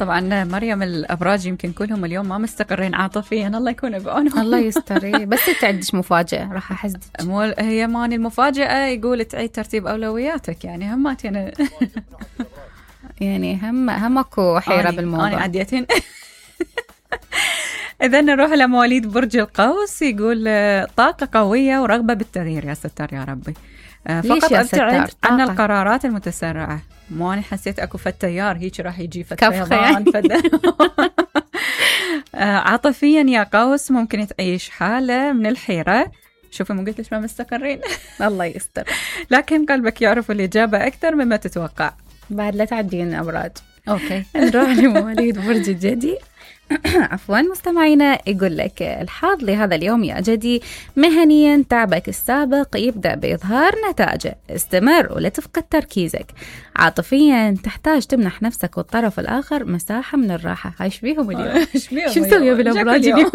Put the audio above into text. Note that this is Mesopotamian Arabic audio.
طبعا مريم الأبراج يمكن كلهم اليوم ما مستقرين عاطفيا، الله يكون بعونهم. الله يستر. بس انت عندك مفاجأة راح احسدك. هي ماني المفاجأة، يقول تعيد ترتيب أولوياتك، يعني همات يعني همكو حيرة بالموضوع. أنا عديتين. إذا نروح لمواليد برج القوس، يقول طاقة قوية ورغبة بالتغيير. يا ستار يا ربي. فقط ابتعد عن القرارات المتسرعة. مو أنا حسيت أكو تيار هيك راح يجي فيضان عاطفيا يا قوس ممكن تعيش حالة من الحيرة. شوفي مو قلت لك ما مستقرين. الله يستر. لكن قلبك يعرف الإجابة أكثر مما تتوقع. بعد لا تعدين أبراج. أوكي. نروح لمواليد برج الجدي. عفوا مستمعينا، يقول لك الحظ لهذا اليوم يا جدي: مهنيا تعبك السابق يبدأ بإظهار نتائجه، استمر ولا تفقد تركيزك. عاطفيا تحتاج تمنح نفسك والطرف الآخر مساحة من الراحة. هاي شبيهم اليوم؟ شو مسوية بالأبراج اليوم؟